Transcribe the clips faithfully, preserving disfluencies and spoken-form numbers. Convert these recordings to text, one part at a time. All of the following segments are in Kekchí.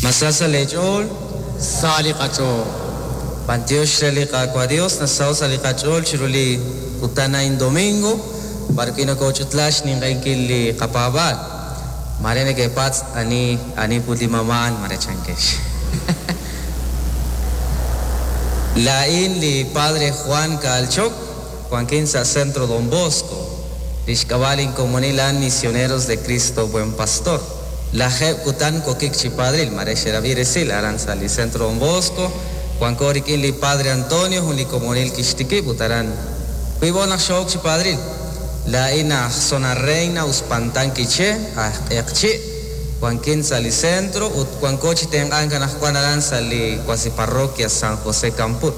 Masa sa lech'ool, Sa li qach'ool. B'antiox re li Qaawa' Dios, nasaw sa li qach'ool chiru li kutan a'in domingo, b'ar wi' nokoch'utla xninq'ehinkil li qapaab'aal. Mare nekepatz' ani ani put li mamaan mare chankex. Lain li Padre Juan Kaalchok, Juanquín sa Centro Don Bosco, lix k'ab'a'il komunilan Misioneros de Cristo Buen Pastor. La jeb kutan kokik chi padril, mare xerabi resil aran sa li Centro Don Bosco, Juan Korikin li Padre Antonio, jun li komunil kixtikib utaran. Wibo naq xok chi padril. La ina zona reina uspantan quiché, ajq'eqchi, Juanquín sa li centro, ut Juan Kochi tengan kanaj Juan aran sa li cuasi parroquia San José Campur.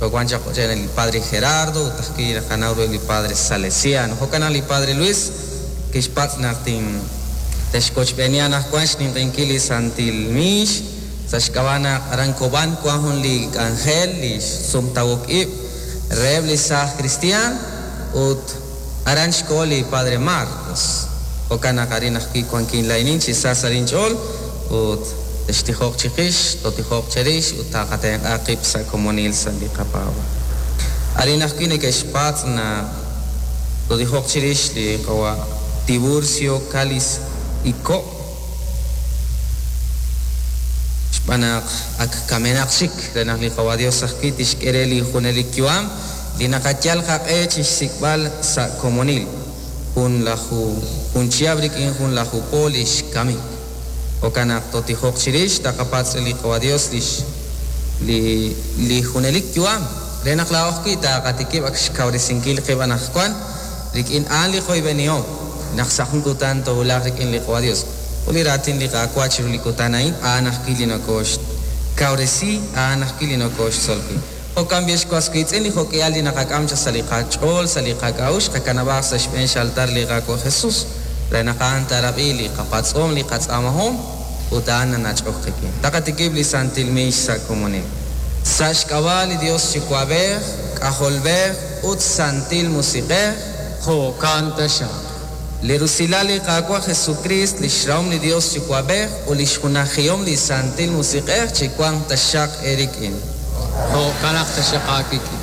Juan Chacochen el Padre Gerardo, utajki Janauro el Padre Salesiano, Jocana el Padre Luis, Kishpatz naqtin texkochb'enian aj Juan xninq'inkil li Santil Mix, sa xk'ab'ana aran Koban Juan jun li Ángel li sumtawok ib' reheb' li saaj cristian ut aran xkoho li Padre Marcos. Jo'kan naq arin ajwi' wankin lainin chi sa sa linch'ool ut textijoq chiqix, totijoq cherix ut taqatenq'a qib' sa' komonil sa' li qapaab'aal. Arin ajwi' neke'xpatz' naq totijoq chirix li qawa' Tiburcio Calis Iko xb'aan naq ak kamenaq xik re naq li qawa' Dios ajwi' tixk'e re li junelik yu'am li naqayal qaq'e chixsik'b'al sa' komonil jun laju jun chihab' rik'in jun laju po lix kamik. Jo'kan naq totijoq chirix taqapatz' re li qawa' Dios lix li li junelik yu'am re naq laa'o ajwi' taqatikib' ak xkawresinkil qib' anaqwan rik'in a'an li qoyb'enihom naq sa' jun kutan towulaq rik'in li qawa' Dios. Ut li raatin li Qaawa' chiru li kutan a'in a'an ajwi' li nokoxkawresi, a'an ajwi' li nokoxtzolqi. Jo'kan b'i xwas wiitz'in li jo'k'ihal li naqak'am cha sa' li qach'ool, sa' li qak'a'uxl, qakanab'aj sa' xb'een xaltar li Qaawa' Jesus. Re naq a'an taarab'i li qapatz'om, li qatz'aamahom, ut a'an nanach'ok qik'in. Taqatikib' li Santil Mix sa' komonil. Sa' xk'ab'a' li Dios Yuwa'b'ej, K'ajolb'ej ut Santil Musiq'ej, Jo'kan taxaq. Li rusilal li Qaawa' Jesucrist, li xrahom li Dios Yuwa'b'ej ut li xjunajihom li Santil Musiq'ej chiwanq taxaq eerik'in. Jo'kan naq taxaq aawik'in.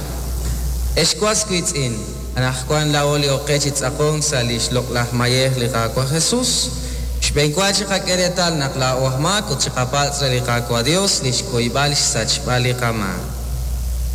Ex was wiitz'in, anaqwan laa'o li oqe chi tz'aqonk sa' li xloq'laj mayej li Qaawa' Jesus. Xb'eenwa chiqak'e reetal naq laa'o aj maak ut chiqapatz' re li Qaawa' Dios li xkuyb'al xsachb'al li qamaak.